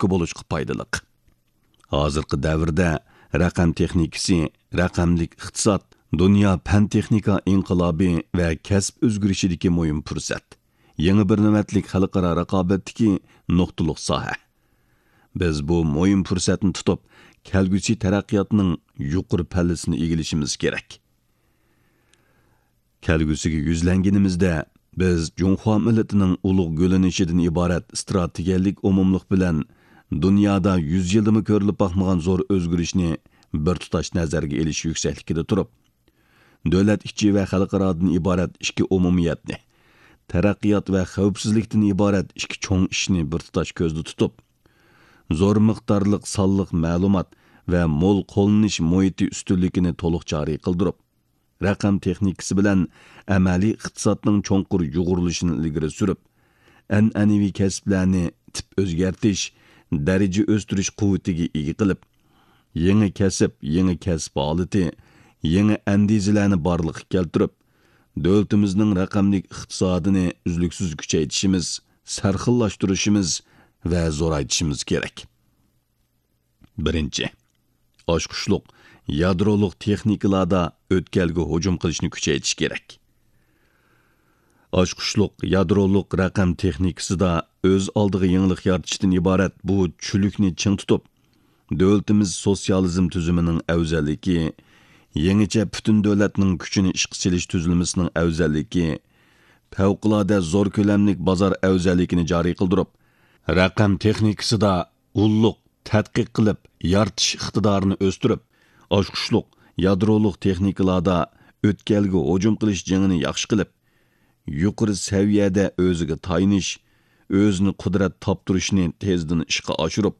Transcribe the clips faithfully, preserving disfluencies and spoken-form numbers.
تۈرتكە بولۇشقا پايدىلىق. ھازىرقى دەۋردە رەقەم تېخنىكىسى، رەقەملىك ئىقتىساد، دۇنيا پەن-تېخنىكا ئىنقىلابى ۋە كەسىپ ئۆزگىرىشىدىكى مۇھىم پۇرسەت، يېڭى بىر نۆۋەتلىك خەلقئارا رىقابەتتىكى نۇقتىلىق ساھە. بىز بۇ مۇھىم پۇرسەتنى تۇتۇپ، كەلگۈسى تەرەققىياتنىڭ يۇقىرى پەللىسىنى ئىگىلىشىمىز كېرەك. كەلگۈسىگە يۈزلەنگىنىمىزدە، بىز جۇڭخۇا مىللىتىنىڭ ئۇلۇغ گۈللىنىشىدىن ئىبارەت ئىستراتېگىيەلىك ئومۇملۇق بىلەن دۇنيادا يۈز يىلدىمۇ كۆرۈلۈپ باقمىغان زور ئۆزگىرىشنى بىر تۇتاش نەزەرگە ئېلىش يۈكسەكلىكىدە تۇرۇپ، دۆلەت ئىچى ۋە خەلقئارادىن ئىبارەت ئىككى ئومۇمىيەتنى، تەرەققىيات ۋە خەۋپسىزلىكتىن ئىبارەت ئىككى چوڭ ئىشنى بىر تۇتاش كۆزدە تۇتۇپ، زور مىقدارلىق سانلىق مەلۇمات ۋە مول قوللىنىش مۇھىتى ئۈستۈنلۈكىنى تولۇق جارى قىلدۇرۇپ، رەقەم تېخنىكىسى بىلەن ئەمەلىي ئىقتىسادنىڭ چوڭقۇر يۇغۇرۇلۇشىنى ئىلگىرى سۈرۈپ، ئەنئەنىۋى كەسىپلەرنى تىپ ئۆزگەرتىش، دەرىجە ئۆستۈرۈش قۇۋۋىتىگە ئىگە قىلىپ، يېڭى كەسىپ، يېڭى كەسىپ ھالىتى، يېڭى ئەندىزىلەرنى بارلىققا كەلتۈرۈپ، دۆلىتىمىزنىڭ رەقەملىك ئىقتىسادىنى ئۈزلۈكسىز كۈچەيتىشىمىز، سەرخىللاشتۇرۇشىمىز ۋە زورايتىشىمىز كېرەك. بىرىنچى، ئاچقۇچلۇق يادرولۇق تېخنىكىلاردا ئۆتكەلگە ھۇجۇم قىلىشنى كۈچەيتىش كېرەك. ئاچقۇچلۇق يادرولۇق رەقەم تېخنىكىسىدا ئۆز ئالدىغا يېڭىلىق يارىتىشتىن ئىبارەت بۇ چۈلۈكنى چىڭ تۇتۇپ، دۆلىتىمىز سوتسىيالىزم تۈزۈمىنىڭ ئەۋزەللىكى، يېڭىچە پۈتۈن دۆلەتنىڭ كۈچىنى ئىشقا سېلىش تۈزۈلمىسىنىڭ ئەۋزەللىكى، پەۋقۇلئاددە زور كۆلەملىك بازار ئەۋزەللىكىنى جارى قىلدۇرۇپ، رەقەم تېخنىكىسىدا ئۇللۇق تەتقىق قىلىپ يارىتىش ئىقتىدارىنى ئۆستۈرۈپ، ئاچقۇچلۇق يادرولۇق تېخنىكىلاردا ئۆتكەلگە ھۇجۇم قىلىش جېڭىنى ياخشى قىلىپ، يۇقىرى سەۋىيەدە ئۆزىگە تايىنىش، ئۆزىنى قۇدرەت تاپتۇرۇشنى تېزدىن ئىشقا ئاشۇرۇپ،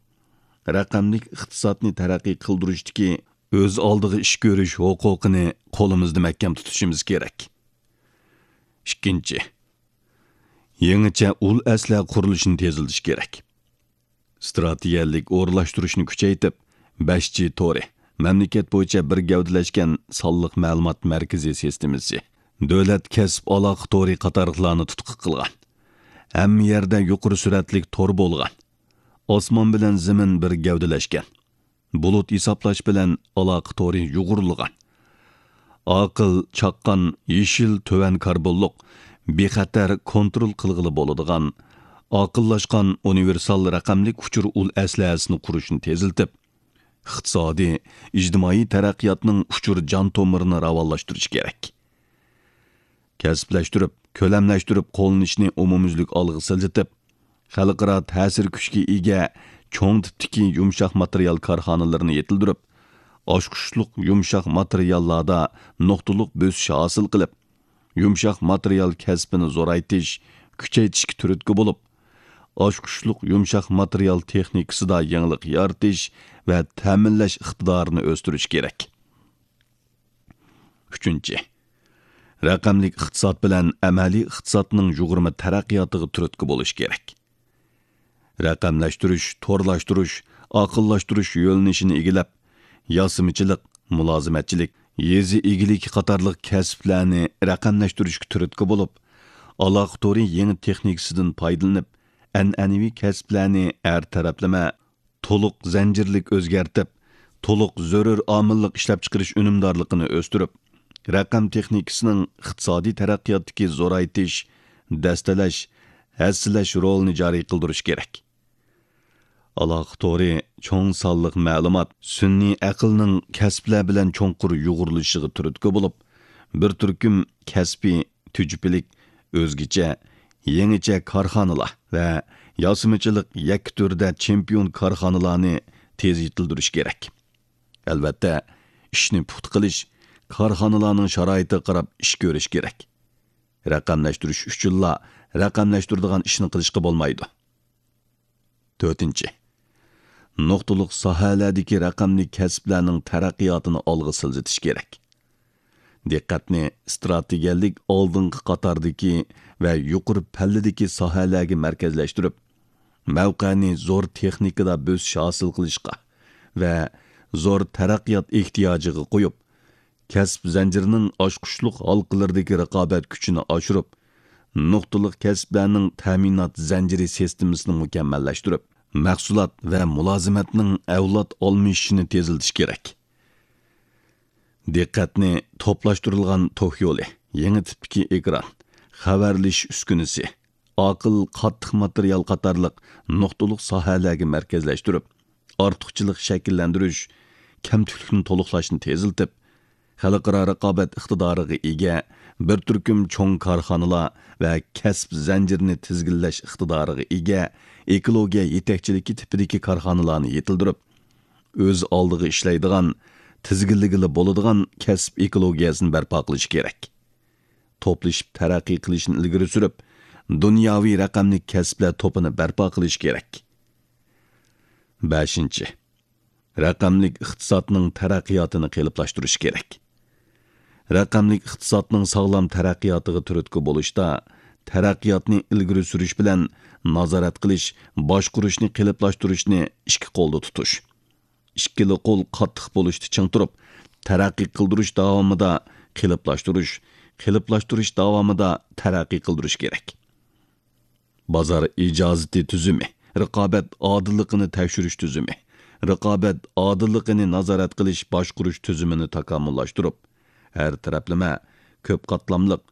رەقەملىك ئىقتىسادنى تەرەققىي قىلدۇرۇشتىكى ئۆز ئالدىغا ئىش كۆرۈش ھوقۇقىنى قولىمىزدا مەھكەم تۇتۇشىمىز كېرەك. ئىككىنچى، يېڭىچە ئۇل ئەسلىھە قۇرۇلۇشىنى تېزلىتىش كېرەك. ئىستراتېگىيەلىك ئورۇنلاشتۇرۇشنى كۈچەيتىپ، بەش جى تورى، مەملىكەت بويىچە بىر گەۋدىلەشكەن سانلىق مەلۇمات مەركىزى سىستېمىسى، دۆلەت كەسىپ ئالاقە تورى قاتارلىقلارنى تۇتقا قىلغان، ھەممە يەردە يۇقىرى سۈرئەتلىك تور بولغان، ئاسمان بىلەن زېمىن بىر گەۋدىلەشكەن، بۇلۇت ھېسابلاش بىلەن ئالاقە تورى يۇغۇرۇلغان، ئاقىل، چاققان، يېشىل، تۆۋەن كاربونلۇق، بىخەتەر، كونترول قىلغىلى بولىدىغان، ئاقىللاشقان ئۇنىۋېرسال رەقەملىك ئۇچۇر ئۇل ئەسلىھەسىنى قۇرۇشنى تېزلىتىپ، ئىقتىسادىي، ئىجتىمائىي تەرەققىياتنىڭ ئۇچۇر جان تومۇرىنى راۋانلاشتۇرۇش كېرەك. كەسىپلەشتۈرۈپ، كۆلەملەشتۈرۈپ قوللىنىشنى ئومۇميۈزلۈك ئالغا سىلجىتىپ، خەلقئارا تەسىر كۈچكە ئىگە چوڭ تىپتىكى يۇمشاق ماتېرىيال كارخانىلىرىنى يېتىلدۈرۈپ، ئاچقۇچلۇق يۇمشاق ماتېرىياللاردا نۇقتىلىق بۆسۈش ھاسىل قىلىپ، يۇمشاق ماتېرىيال كەسپىنى زورايتىش، كۈچەيتىشكە تۈرتكە بولۇپ، ئاچقۇچلۇق يۇمشاق ماتېرىيال تېخنىكىسىدا يېڭىلىق يارىتىش ۋە تەمىنلەش ئىقتىدارىنى ئۆستۈرۈش كېرەك. ئۈچىنچى، رەقەملىك ئىقتىساد بىلەن ئەمەلىي ئىقتىسادنىڭ يۇغۇرما تەرەققىياتىغا تۈرتكە بولۇش كېرەك. رەقەملەشتۈرۈش، تورلاشتۇرۇش، ئاقىللاشتۇرۇش يۆنىلىشىنى ئىگىلەپ، ياسىمىچىلىق، مۇلازىمەتچىلىك، يېزا ئىگىلىكى قاتارلىق كەسىپلەرنى رەقەملەشتۈرۈشكە تۈرتكە بولۇپ، ئالاقە تورى يېڭى تېخنىكىسىدىن پايدىلىنىپ، ئەنئەنىۋى كەسىپلەرنى ھەر تەرەپلىمە، تولۇق زەنجىرلىك ئۆزگەرتىپ، تولۇق زۆرۈر ئامىللىق ئىشلەپچىقىرىش ئۈنۈمدارلىقىنى ئۆستۈرۈپ، رەقەم تېخنىكىسىنىڭ ئىقتىسادىي تەرەققىياتتىكى زورايتىش، دەستىلەش، ھەسسىلەش رولىنى جارى قىلدۇرۇش كېرەك. ئالاقە تورى چوڭ سانلىق مەلۇمات، سۈنئىي ئەقىلنىڭ كەسىپلەر بىلەن چوڭقۇر يۇغۇرۇلۇشىغا تۈرتكە بولۇپ، بىر تۈركۈم كەسپىي، تۈجۈپىلىك، ئۆزگىچە، يېڭىچە كارخانىلار ۋە ياسىمىچىلىق يەككە تۈردە چېمپىيون كارخانىلارنى تېز يېتىلدۈرۈش كېرەك. ئەلۋەتتە، ئىشنى پۇختا قىلىش، كارخانىلارنىڭ شارائىتىغا قاراپ ئىش كۆرۈش كېرەك. رەقەملەشتۈرۈش ئۈچۈنلا رەقەملەشتۈرىدىغان ئىشنى قىلىشقا بولمايدۇ. تۆتىنچى، نۇقتىلىق ساھەلەردىكى رەقەملىك كەسىپلەرنىڭ تەرەققىياتىنى ئالغا سىلجىتىش كېرەك. دىققەتنى ئىستراتېگىيەلىك ئالدىنقى قاتاردىكى ۋە يۇقىرى پەللىدىكى ساھەلەرگە مەركەزلەشتۈرۈپ، مەۋقەنى زور تېخنىكىدا بۆسۈش ھاسىل قىلىشقا ۋە زور تەرەققىيات ئېھتىياجىغا قويۇپ، كەسىپ زەنجىرىنىڭ ئاچقۇچلۇق ھالقىلىرىدىكى رىقابەت كۈچىنى ئاشۇرۇپ، نۇقتىلىق كەسىپلەرنىڭ تەمىنات زەنجىرى سىستېمىسىنى مۇكەممەللەشتۈرۈپ، مەھسۇلات ۋە مۇلازىمەتنىڭ ئەۋلاد ئالمىشىشىنى تېزلىتىش كېرەك. دىققەتنى توپلاشتۇرۇلغان توك يولى، يېڭى تىپتىكى ئېكران، خەۋەرلىشىش ئۈسكۈنىسى، ئاقىل قاتتىق ماتېرىيال قاتارلىق نۇقتىلىق ساھەلەرگە مەركەزلەشتۈرۈپ، ئارتۇقچىلىق شەكىللەندۈرۈش، كەمتۈكلۈكنى تولۇقلاشنى تېزلىتىپ، خەلقئارا رىقابەت ئىقتىدارىغا ئىگە، بىر تۈركۈم چوڭ كارخانىلار ۋە كەسىپ زەنجىرىنى تىزگىنلەش ئىقتىدارىغا ئىگە ئېكولوگىيە يېتەكچىلىكى تىپىدىكى كارخانىلارنى يېتىلدۈرۈپ، ئۆز ئالدىغا ئىشلەيدىغان، تىزگىنلىگىلى بولىدىغان كەسىپ ئېكولوگىيەسىنى بەرپا قىلىش كېرەك. توپلىشىپ تەرەققىي قىلىشنى ئىلگىرى سۈرۈپ، دۇنياۋى رەقەملىك كەسىپلەر توپىنى بەرپا قىلىش كېرەك. بەشىنچى، رەقەملىك ئىقتىسادنىڭ تەرەققىياتىنى قېلىپلاشتۇرۇش كېرەك. رەقەملىك ئىقتىسادنىڭ ساغلام تەرەققىياتىغا تۈرتكە بولۇشتا، تەرەققىياتنى ئىلگىرى سۈرۈش بىلەن نازارەت قىلىش، باشقۇرۇشنى قېلىپلاشتۇرۇشنى ئىككى قولدا تۇتۇش. ئىككىلا قول قاتتىق بولۇشتا چىڭ تۇرۇپ، تەرەققىي قىلدۇرۇش داۋامىدا قېلىپلاشتۇرۇش، قېلىپلاشتۇرۇش داۋامىدا تەرەققىي قىلدۇرۇش كېرەك. بازار ئىجازىتى تۈزۈمى، رىقابەت ئادىللىقىنى تەكشۈرۈش تۈزۈمى، رىقابەت ئادىللىقىنى نازارەت قىلىش باشقۇرۇش تۈزۈمىنى تاكامۇللاشتۇرۇپ، ھەر تەرەپلىمە، كۆپ قاتلاملىق،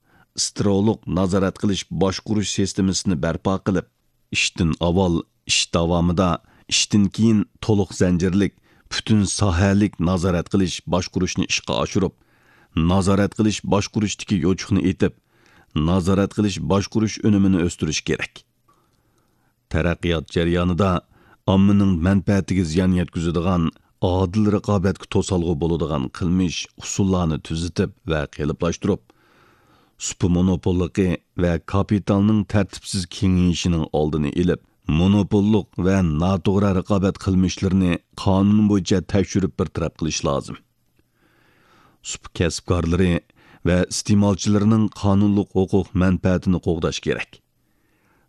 سترولۇق نازارەت قىلىش باشقۇرۇش سىستېمىسىنى بەرپا قىلىپ، ئىشتىن ئاۋۋال، ئىش داۋامىدا، ئىشتىن كېيىن تولۇق زەنجىرلىك، پۈتۈن ساھەلىك نازارەت قىلىش باشقۇرۇشنى ئىشقا ئاشۇرۇپ، نازارەت قىلىش باشقۇرۇشتىكى يوچۇقنى ئېتىپ، نازارەت قىلىش باشقۇرۇش ئۈنۈمىنى ئۆستۈرۈش كېرەك. تەرەققىيات جەريانىدا ئاممىنىڭ مەنپەئەتىگە زىيان يەتكۈزىدىغان، ئادىل رىقابەتكە توسالغۇ بولىدىغان قىلمىش، ئۇسۇللارنى تۈزىتىپ ۋە قېلىپلاشتۇرۇپ، سۇپا مونوپوللۇقى ۋە كاپىتالنىڭ تەرتىپسىز كېڭىيىشىنىڭ ئالدىنى ئېلىپ، مونوپوللۇق ۋە ناتوغرا رىقابەت قىلمىشلىرىنى قانۇن بويىچە تەكشۈرۈپ بىر تەرەپ قىلىش لازىم. سۇپا كەسىپكارلىرى ۋە ئىستېمالچىلىرىنىڭ قانۇنلۇق ھوقۇق مەنپەئەتىنى قوغداش كېرەك.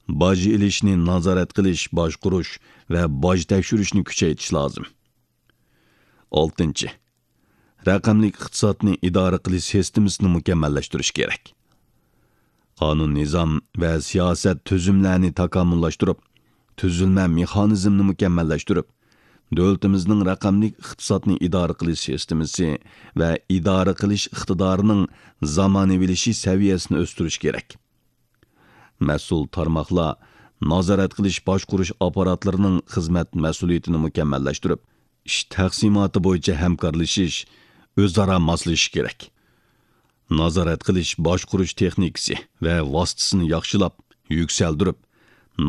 باج ئېلىشنى نازارەت قىلىش، باشقۇرۇش ۋە باج تەكشۈرۈشنى كۈچەيتىش لازىم. ئالتىنچى، رەقەملىك ئىقتىسادنى ئىدارە قىلىش سىستېمىسىنى مۇكەممەللەشتۈرۈش كېرەك. قانۇن، نىزام ۋە سىياسەت تۈزۈملەرنى تاكامۇللاشتۇرۇپ، تۈزۈلمە مېخانىزمىنى مۇكەممەللەشتۈرۈپ، دۆلىتىمىزنىڭ رەقەملىك ئىقتىسادنى ئىدارە قىلىش سىستېمىسى ۋە ئىدارە قىلىش ئىقتىدارىنىڭ زامانىۋىلىشىش سەۋىيەسىنى ئۆستۈرۈش كېرەك. مەسئۇل تارماقلار نازارەت قىلىش باشقۇرۇش ئاپپاراتلىرىنىڭ خىزمەت مەسئۇلىيىتىنى مۇكەممەللەشتۈرۈپ، ئىش تەقسىماتى بويىچە ھەمكارلىشىش، ئۆزئارا ماسلىشىش كېرەك. نازارەت قىلىش باشقۇرۇش تېخنىكىسى ۋە ۋاسىتىسىنى ياخشىلاپ، يۈكسەلدۈرۈپ،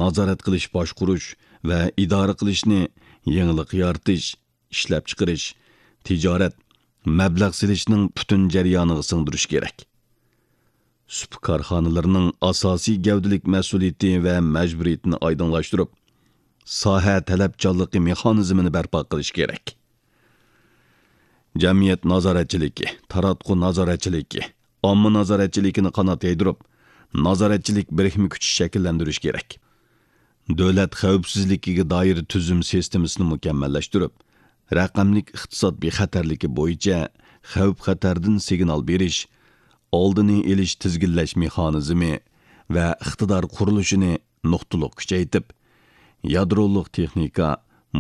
نازارەت قىلىش باشقۇرۇش ۋە ئىدارە قىلىشنى يېڭىلىق يارىتىش، ئىشلەپچىقىرىش، تىجارەت، مەبلەغ سېلىشنىڭ پۈتۈن جەريانىغا سىڭدۈرۈش كېرەك. سۇپا كارخانىلىرىنىڭ ئاساسىي گەۋدىلىك مەسئۇلىيىتى ۋە مەجبۇرىيىتىنى ئايدىڭلاشتۇرۇپ، ساھە تەلەپچانلىقى مېخانىزمىنى بەرپا قىلىش كېرەك. جەمئىيەت نازارەتچىلىكى، تاراتقۇ نازارەتچىلىكى، ئامما نازارەتچىلىكىنى قانات يايدۇرۇپ، نازارەتچىلىك بىرىكمە كۈچى شەكىللەندۈرۈش كېرەك. دۆلەت خەۋپسىزلىكىگە دائىر تۈزۈم سىستېمىسىنى مۇكەممەللەشتۈرۈپ، رەقەملىك ئىقتىساد بىخەتەرلىكى بويىچە خەۋپ-خەتەردىن سىگنال بېرىش، ئالدىنى ئېلىش، تىزگىنلەش مېخانىزمى ۋە ئىقتىدار قۇرۇلۇشىنى نۇقتىلىق كۈچەيتىپ، يادرولۇق تېخنىكا،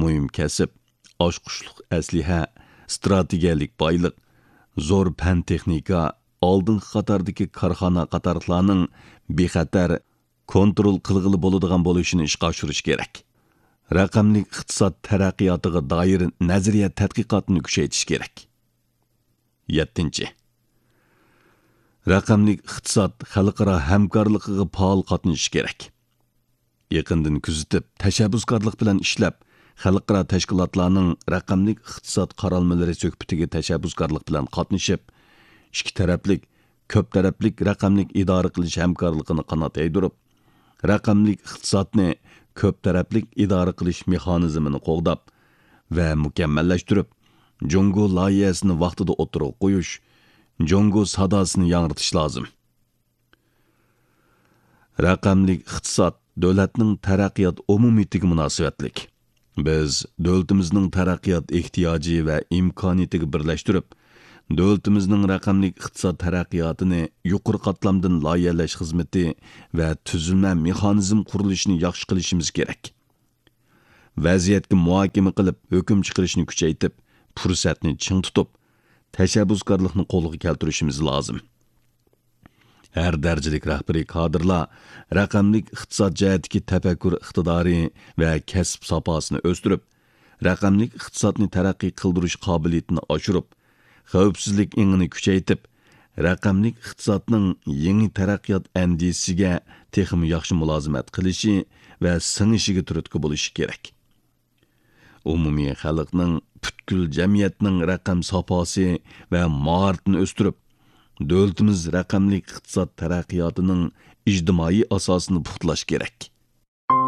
مۇھىم كەسىپ، ئاچقۇچلۇق ئەسلىھە، ئىستراتېگىيەلىك بايلىق، زور پەن-تېخنىكا، ئالدىنقى قاتاردىكى كارخانا قاتارلىقلارنىڭ بىخەتەر، كونترول قىلغىلى بولىدىغان بولۇشىنى ئىشقا ئاشۇرۇش كېرەك. رەقەملىك ئىقتىساد تەرەققىياتىغا دائىر نەزەرىيە تەتقىقاتنى كۈچەيتىش كېرەك. يەتتىنچى، رەقەملىك ئىقتىساد خەلقئارا ھەمكارلىقىغا پائال قاتنىشىش كېرەك. يېقىندىن كۆزىتىپ، تەشەببۇسكارلىق بىلەن ئىشلەپ، خەلقئارا تەشكىلاتلارنىڭ رەقەملىك ئىقتىساد قارالمىلىرى سۆھبىتىگە تەشەببۇسكارلىق بىلەن قاتنىشىپ، ئىككى تەرەپلىك، كۆپ تەرەپلىك رەقەملىك ئىدارە قىلىش ھەمكارلىقىنى قانات يايدۇرۇپ، رەقەملىك ئىقتىسادنى كۆپ تەرەپلىك ئىدارە قىلىش مېخانىزمىنى قوغداپ ۋە مۇكەممەللەشتۈرۈپ، جۇڭگو لايىھەسىنى ۋاقتىدا ئوتتۇرىغا قويۇش، جۇڭگو ساداسىنى ياڭرىتىش لازىم. رەقەملىك ئىقتىساد دۆلەتنىڭ تەرەققىيات ئومۇمىيىتىگە مۇناسىۋەتلىك. بىز دۆلىتىمىزنىڭ تەرەققىيات ئېھتىياجى ۋە ئىمكانىيىتىگە بىرلەشتۈرۈپ، دۆلىتىمىزنىڭ رەقەملىك ئىقتىساد تەرەققىياتىنى يۇقىرى قاتلامدىن لايىھەلەش خىزمىتى ۋە تۈزۈلمە مېخانىزم قۇرۇلۇشىنى ياخشى قىلىشىمىز كېرەك. ۋەزىيەتكە مۇھاكىمە قىلىپ، ھۆكۈم چىقىرىشنى كۈچەيتىپ، پۇرسەتنى چىڭ تۇتۇپ، تەشەببۇسكارلىقنى قولغا كەلتۈرۈشىمىز لازىم. ھەر دەرىجىلىك رەھبىرىي كادىرلار رەقەملىك ئىقتىساد جەھەتتىكى تەپەككۇر ئىقتىدارى ۋە كەسىپ ساپاسىنى ئۆستۈرۈپ، رەقەملىك ئىقتىسادنى تەرەققىي قىلدۇرۇش قابىلىيىتىنى ئاشۇرۇپ، خەۋپسىزلىك ئېڭىنى كۈچەيتىپ، رەقەملىك ئىقتىسادنىڭ يېڭى تەرەققىيات ئەندىزىسىگە تېخىمۇ ياخشى مۇلازىمەت قىلىشى ۋە سىڭىشىگە تۈرتكە بولۇشى كېرەك. ئومۇمىي خەلقنىڭ، پۈتكۈل جەمئىيەتنىڭ رەقەم ساپاسى ۋە ماھارىتىنى ئۆستۈرۈپ، دۆلىتىمىز رەقەملىك ئىقتىساد تەرەققىياتىنىڭ ئىجتىمائىي ئاساسىنى پۇختىلاش كېرەك.